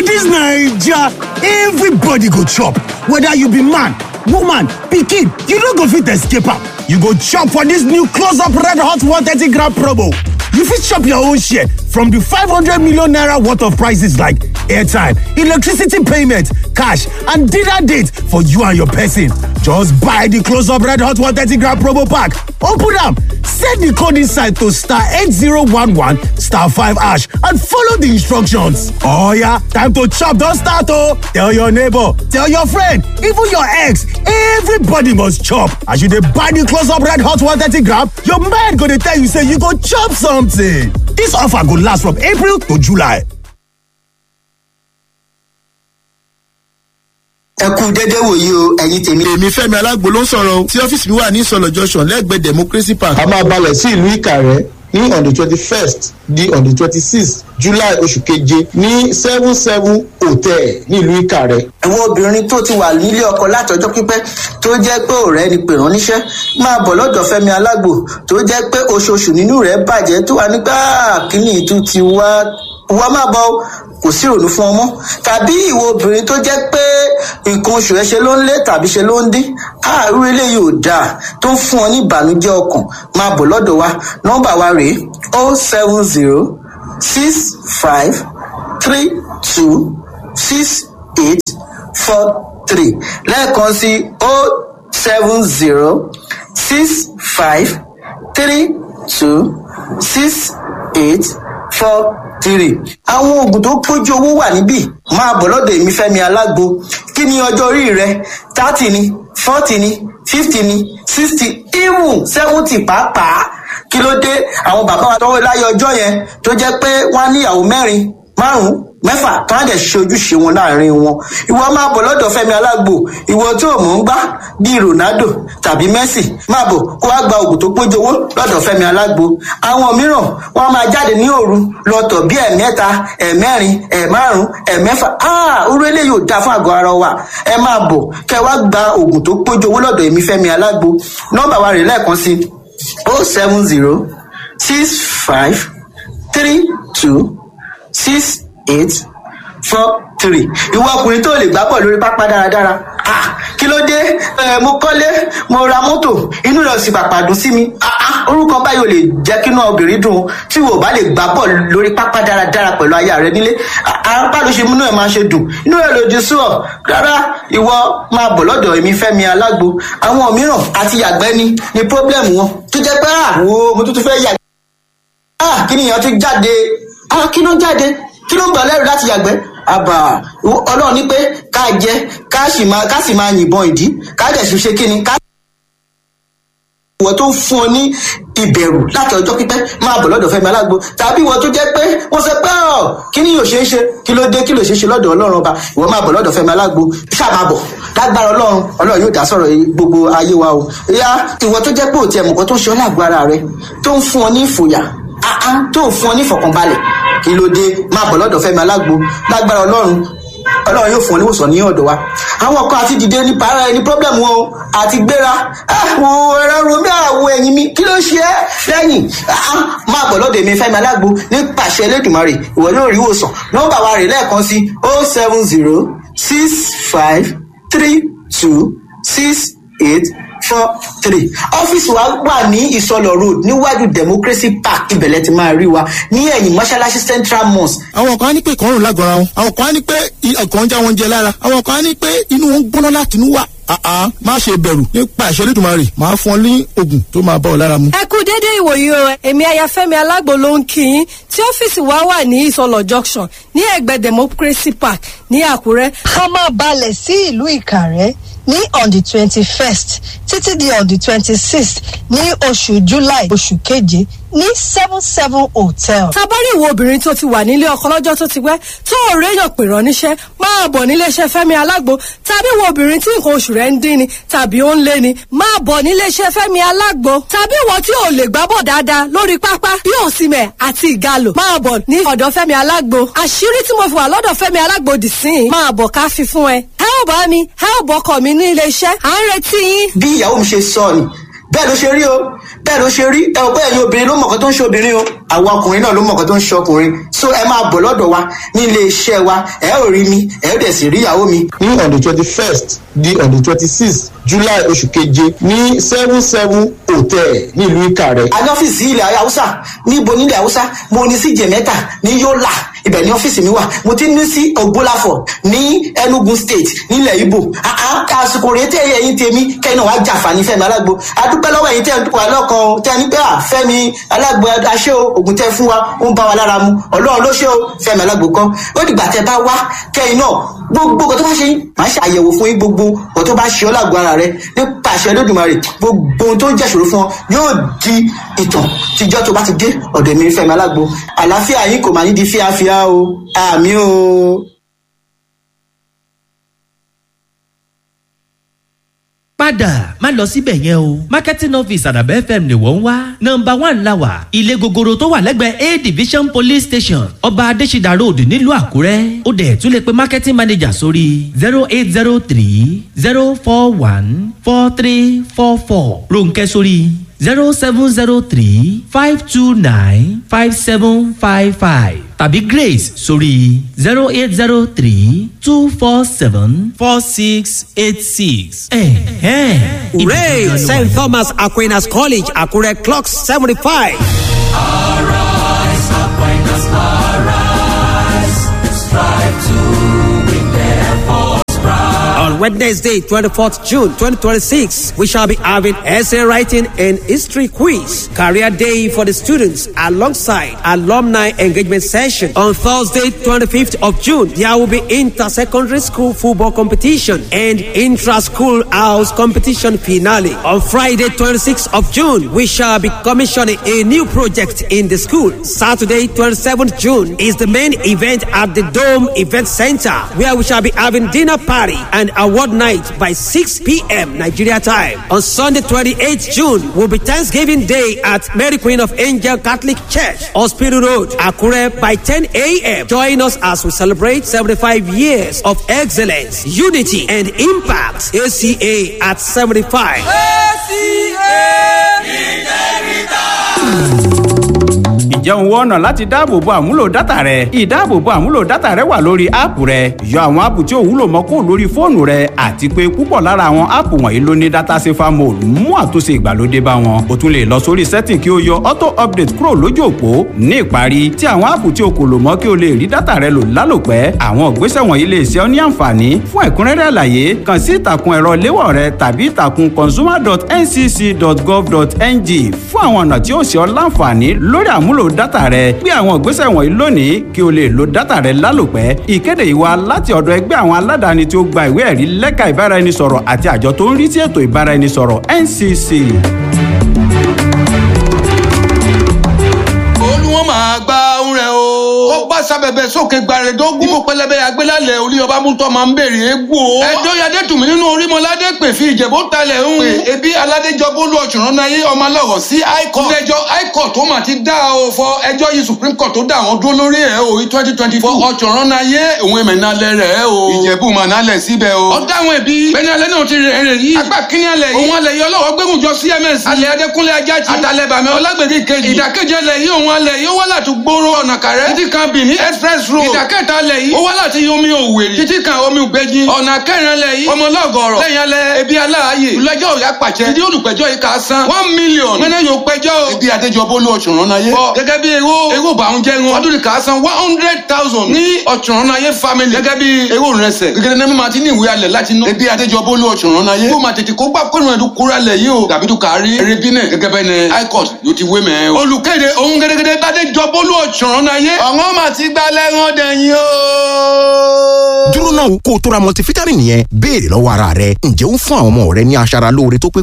This Naija, everybody go chop. Whether you be man, woman, pikin, you no go fit escape am. You go chop for this new close-up red hot 130 gram promo. You fit chop your own share from the 500 million naira worth of prices like airtime, electricity payment, cash, and dinner date for you and your person. Just buy the close-up red hot 130 gram promo pack. Open am, send the code inside to star 8011 star 5 hash and follow the instructions. Oh yeah, time to chop don start oh! Tell your neighbor, tell your friend, even your ex, everybody must chop. As you dey buy the close-up red hot 130 gram, your mind go dey tell you say you go chop something. This offer go last from April to July. Ẹ kú dédé wòyí o, ẹ̀yin tèmi. Èmi Fẹ́mi Alágbo ló ń sọ̀rọ̀ o, tí ọ́fíìsì mi wà ní Ìsọ̀lọ̀ Junction lẹ́gbẹ̀ẹ́ Democracy Park. A máa balẹ̀ sí ìlú Ìkàrẹ́ ní on the 21st di on the 26th July, oṣù keje, ní 77 Hotel ní ìlú Ìkàrẹ́. Àwọn obìnrin tó ti wà nílé ọkọ látọjọ́ pípẹ́, tó jẹ́ pé ọ̀rẹ́ ni pè ránníṣẹ́, máa bọ̀ lọ́dọ̀ Fẹ́mi Alágbo, tó jẹ́ pé oṣooṣù nínú rẹ̀ bàjẹ́, tó wà nígbà kíní ìtú ti wá wá, máa bọ̀ o, kò sí ìrònú fún ọmọ. Tàbí ìwọ obìnrin tó jẹ́ pé nǹkan oṣù ẹ ṣe ló ń lé tàbí ṣe ló ń dín, àárú eléyìí ò dáa, tó ń fún ọ ní ìbànújẹ́ ọkàn, máa bọ̀ lọ́dọ̀ wa. Nọ́mbà wa rèé: 07065326843. Lẹ́ẹ̀kan sí: 07065326843. Àwọn oògùn tó pójú owó wà níbí. Máa bọ̀ lọ́dọ̀ èmi Fẹ́mi Alágbo. Kí ni ọjọ́ orí rẹ? 30 ni, 40 ni, 50 ni, 60, even 70 pàápàá. Kí ló dé? Àwọn bàbá wa tọwọ́ láyé ọjọ́ yẹn, tó jẹ́ pé wọ́n á níyàwó mẹ́rin, márùn-ún, mẹ́fà, tó á dẹ̀ ṣe ojúṣe wọn láàrin wọn. Ìwọ máa bọ̀ lọ́dọ̀ Fẹ́mi Alágbo. Ìwọ tó mọ̀ ń gbá bíi Ronaldo tàbí Messi, máa bọ̀ kó wá gba oògùn tó pójú owó lọ́dọ̀ Fẹ́mi Alágbo. Àwọn mìíràn, wọ́n máa jáde ní òru lọ́tọ̀ bí ẹ̀mẹ́ta, ẹ̀mẹ́rin, ẹ̀márùn, ẹ̀mẹ́fà. Orú eléyìí ò dáa fún àgọ́ ara wa. Ẹ máa bọ̀ kẹ́ wá gba oògùn tó pójú owó lọ́dọ̀ èmi Fẹ́mi Alágbo. Nọ́mbà wa rè lẹ́ẹ̀kan sí: 07065326843. Ìwọ ọkùnrin tó lè gbá bọ̀ lórí pápá dáradára, ah, kí ló dé? Ẹ mo kọ́lé, mo ra mọ́tò, inú rẹ̀ sì pàpà dùn sí mi. Ah ah, orúkọ báyìí ò lè jẹ́ kí inú obìnrin dùn o. Tí wò bá lè gbá bọ̀ lórí pápá dáradára pẹ̀lú aya rẹ nílé, ah, bá ló ṣe múnú ẹ̀ máa ṣe dùn, inú rẹ̀ lòdì sí ọ rárá. Ìwọ máa bọ̀ lọ́dọ̀ èmi Fẹ́mi Alágbo. Àwọn mìíràn àti yàgbẹ́ ni problem wọn, tó jẹ́ pé ah, wo, mo tún tún fẹ́ yàgbẹ́, ah, kí nìyẹn tún jáde? Ah, kí ló ń jáde? Kí ló ń gbà lẹ́rù láti yàgbẹ́? Àbà Ọlọ́run ní pé ká jẹ, ká sì máa yìnbọn ìdí, ká dẹ̀ sì ṣe kí ni ká. Ìwọ tó ń fún ọ ní ìbẹ̀rù láti ọjọ́ pípẹ́, máa bọ̀ lọ́dọ̀ Fẹ́mi Alágbo. Tàbí ìwọ tó jẹ́ pé wọ́n sọ pé ọ̀ kí ni yóò ṣe é ṣe, kí ló dé? Kí ló ṣe é ṣe lọ́dọ̀ Ọlọ́run ọba? Ìwọ máa bọ̀ lọ́dọ̀ Fẹ́mi Alágbo, ṣáà máa bọ̀. Lágbára Ọlọ́run, Ọlọ́run yóò dá sọ̀rọ̀ gbogbo ayé wa o. Ìyá, ìwọ tó jẹ́ pé òtí ẹ̀mùkọ́ tó ń ṣe ọ́ lágbo ara rẹ, tó ń fún ọ ní ìfòyà, tó ń fún ọ ní ìfọ̀kànbalẹ̀, kí ló dé? Máa bọ̀ lọ́dọ̀ Fẹ́mi Alágbo. Lágbára Ọlọ́run, Ọlọ́run yóò fún ọ níwòsàn ní ọ̀dọ̀ wa. Àwọn kan àti dìde ní para ẹni problem wọn o, àti gbéra àwọn ẹ̀rọ romi, àwọ̀ ẹ̀yìn mi, kí ló ṣe é lẹ́yìn? Máa bọ̀ lọ́dọ̀ èmi Fẹ́mi Alágbo. Nípasẹ̀ Elédùmarè, ìwọ yóò rí ìwòsàn. Nọ́mbà wa rè lẹ́ẹ̀kan sí: 07065326843. Ọ́fíìsì wa wà ní Ìsọlọ̀ Road, níwájú Democracy Park. Ibẹ̀lẹ̀ ti máa rí wa ní ẹ̀yìn mọ́ṣáláṣí Central Mosque. Àwọn kan á ní pé ìkọrùn lágọ̀ọ́ra wọn, àwọn kan á ní pé ọkàn ń já wọn jẹ lára, àwọn kan á ní pé inú wọn ń gbóná láti inú wà. Àá, má ṣe bẹ̀rù, nípa ìṣẹ́ Olódùmarè, máa fún ọ ní oògùn tó máa bá ọ lára mu. Ẹ kú dédé ìwòyí o. Èmi Ayafẹ́mi Alágbo ló ń kí yín, tí ọ́fíìsì wa wà ní Ìsọlọ̀ Junction, ní ẹ̀gbẹ́ Democracy Park ní Àkúrẹ́. A máa balẹ̀ sí ìlú Ìkàrẹ́ ní on the 21st títí di on the 26th ní oṣù July, oṣù keje, ní 77 Hotel. Tabari ìwọ obìnrin tó ti wà nílé ọkọ lọ́jọ́ tó ti pẹ́, tó ò réyàn pè rán níṣẹ́, máa bọ̀ níléeṣẹ́ Fẹ́mi Alágbo. Tàbí ìwọ obìnrin tí nǹkan oṣù rẹ̀ ń dín ni tàbí ó ń lé ni, máa bọ̀ níléeṣẹ́ Fẹ́mi Alágbo. Tàbí ìwọ tí ò lè gbábọ̀ dáadáa lórí pápá bí Òsìmẹ̀ àti Ìgalò, máa bọ̀ ní ọ̀dọ̀ Fẹ́mi Alágbo. Àṣírí tí mo fi wà lọ́dọ̀ Fẹ́mi Alágbo dì sí i, máa bọ̀ ká fi fún ẹ. Ẹ ò bá mi, ẹ ò bọ́kọ̀ mi ní iléeṣẹ́, à ń retí yín. Bí ìyàwó mi ṣe sọ ni. Bẹ́ẹ̀ ló ṣe rí o, bẹ́ẹ̀ ló ṣe rí. Ẹ ò bẹ́ẹ̀ ni obìnrin ló mọ̀kàn tó ń ṣe obìnrin o, àwa ọkùnrin náà ló mọ̀kàn tó ń ṣe ọkùnrin. So ẹ máa bọ̀ lọ́dọ̀ wa ní ilé iṣẹ́ wa, ẹ ò rí mi, ẹ ò dẹ̀ sì rí ìyàwó mi. Ní on the 21st di on the 26th July oṣù keje ní 77 Hotel nílùú Ìkàrẹ́. A ní ọ́fíìsì ilẹ̀ Haúsá. Níbo nílẹ̀ Haúsá? Mo ní sí Jẹ̀mẹ́ta ní Yólà, ibẹ̀ ní ọ́fíìsì mi wà. Mo ti ní sí Ògbólàfọ̀ ní Enugu State nílẹ̀ Ibo. Àsìkò rèé tẹ́ ẹ̀yin tèmi kẹ́yìn náà wàá jàǹfààní Fẹ́mi Alágbo. Adúpẹ́ lọ́wọ́ ẹ̀yin tẹ́ ẹ̀ ń wà lọ́kàn o, tẹ́ ẹ ní pé à Fẹ́mi Alágbo aṣẹ́ o, ògùn tẹ́ fún wa ó ń bá wa lára mu. Ọlọ́run ló ṣe o, Fẹ́mi Alágbo kọ́. Ó dìgbà tẹ́ bá wá kẹ́yìn náà, gbogbo nǹkan tó bá ṣe yín, màá ṣe àyẹ̀wò fún yín. Gbogbo nǹkan tó bá ṣe ọ́ lágbo ara rẹ, nípa àṣẹ Olódùmarè, gbogbo ohun tó ń jẹ́ ìṣòro fún ọ yóò di ìtàn tíjọ́ tó bá ti dé ọ̀dọ̀ mi Fẹ́mi Alágbo. Àlàáfíà yín kò máa ní di fíafíà o. Àmì o. Padà má lọ síbẹ̀ yẹn o, marketing office Àdàbẹ̀ FM ni wọ́n ń wá. Nọ́mbà 1 la wà, ilé gogoro tó wà lẹ́gbẹ̀ẹ́ A Division Police Station, Ọba Adésídà Road, nílùú Àkúrẹ́. Ó dẹ̀ tún lè pe marketing manager sórí 08030414344, Ronkẹ́ sórí 07035295755 tàbí Grace sórí 08032474686. Hooray! St. Thomas Aquinas College, Akure clocks 75. Arise, Aquinas, arise. Strive to win their force pride. On Wednesday, 24th June 2026, we shall be having essay writing and history quiz, career day for the students alongside alumni engagement session. On Thursday, 25th of June, there will be inter-secondary school football competition and intra-school house competition finale. On Friday, 26th of June, we shall be commissioning a new project in the school. Saturday, 27th June is the main event at the Dome Event Center, where we shall be having dinner party and award night by 6 p.m. Nigeria time. On Sunday, 28th June, will be Thanksgiving Day at Mary Queen of Angel Catholic Church, Hospital Road, Akure by 10 a.m. Join us as we celebrate 75 years of excellence, unity, and impact. ACA at 75. Ǹjẹ́ òun wọ́n ọ̀nà láti dáàbòbo àmúlò dátà rẹ? Ìdáàbòbo àmúlò dátà rẹ wà lórí áàpù rẹ. Yọ àwọn áàpù tí ò wúlò mọ́ kúrò lórí fóònù rẹ, àti pé púpọ̀ lára àwọn áàpù wọ̀nyí ló ní data safer mode mú àtúnṣe ìgbàlódé bá wọn. O tún lè lọ sórí setting kí o yọ auto update kúrò lójú òpó. Ní ìparí, tí àwọn áàpù tí o kò lò mọ́ kí o lè rí dátà rẹ lò lálòpẹ́. Àwọn ìgbésẹ̀ wọ̀nyí lè ṣe ọ́ ní àǹfààní. Fún ẹ̀kúnrẹ́rẹ́ àlàyé, kàn sí ìtàkùn ẹ̀rọ léwọ̀ rẹ tàbí ìtàkùn consumer.ncc.gov.ng fún àwọn ọ̀nà tí ó ṣe ọ́ láǹfààní lórí àmúlò dátà rẹ. Gbé àwọn ìgbésẹ̀ wọ̀nyí lónìí kí o lè lo dátà rẹ lálòpẹ́. Ìkéde yìí wá láti ọ̀dọ̀ ẹgbẹ́ àwọn aládàáni tí ó gba ìwé ẹ̀rí lẹ́ka ìbáraẹnisọ̀rọ̀ àti àjọ tó ń rí sí ètò ìbáraẹnisọ̀rọ̀ NCC. Olúwọ́n máa gba ohun rẹ̀ o. Ó bá sábẹ̀bẹ̀ sókè gbàrẹ̀dógún. Ibo pẹlẹbẹ agbélálẹ̀ orí ọba mútọ́ máa ń béèrè egbò. Ẹjọ́ yadé tùmí nínú orímọ̀ládé pè fi ìjẹ̀bú talẹ̀ ń. Pè ebi aládéjọbó lu ọ̀ṣùnrán náà yé ọmọ alọ́rọ̀ sí high court. Ilé-ẹjọ́ high court tó mà ti dá o fọ ẹjọ́ yìí supreme court tó dá àwọn dúró lórí ẹ̀ o 2024. Ọ̀ṣùnrán náà yé òun èmẹ̀ nalẹ̀ rẹ̀ o. Ìjẹ̀bú mà nalẹ̀ síbẹ̀ o. Ọ̀dà àwọn ẹbí bẹ́ẹ̀ni alẹ́ náà ti rẹ̀ rẹ̀ yìí. Apá kínní alẹ́ yìí. Òun alẹ́ yìí ọlọ́wọ́ gbẹ́gùn jọ CMS. Alẹ́ Adékúnlé Ajájí. Àtàlẹ́ bàmí Ọlágbèdè kejì. Ìdàkejì alẹ́ yìí òun alẹ́ yìí ó wá láti gbòòrò ọ̀nà kàrẹ́. Títí kan Benin express road. Ìdàkẹ́ta alẹ́ yìí ó wá láti omi Òwèrì. Títí kan omi Ògbẹ́jì. Ọ̀nà kẹrin alẹ́ yìí ọmọ lọ́gọ̀rọ̀. Lẹ́yìn alẹ́ ebi aláàyè. Ìlẹ́jọ́ òyà pàṣẹ. Títí olùpẹ̀jọ́ yìí kà á san 1 million. Mẹ́nẹ́ yóò pẹjọ́. Ibi Adéjọbólú Ọ̀ṣùnrán-náyé. Fọ gẹ́gẹ́ bí ewó ewó bá ń jẹ́ wọn. Ọdún kà á san 100,000 ní Ọ̀ṣùnrán-náyé family. Gẹ́gẹ́ bí ewó rẹsẹ̀. Gẹ́gẹ́ ní mímọ àti ní ìwé alẹ̀ láti ná. Ebi Adéjọbólú Ọ̀ṣùnrán-náyé. Kó máa tètè kó gbà kónú ẹ̀dùn kúrò alẹ̀ yìí o. Tàbí tó kà á rí eré bí náà gẹ́gẹ́ bẹ́ẹ̀ ni high court yóò ti wé mẹ́ o. Olùkéde òun gẹ́gẹ́gẹ́ Bádéjọbólú Ọ̀ṣùnrán-náyé. Ọ̀wọ́n mà ti gbalẹ̀ wọn dẹ̀yìn o. Dúró náà, kó o tó ra multivitamin yẹn, béèrè lọ́wọ́ ara rẹ: ǹjẹ́ ó ń fún àwọn ọmọ rẹ ní aṣara lóore tó pé?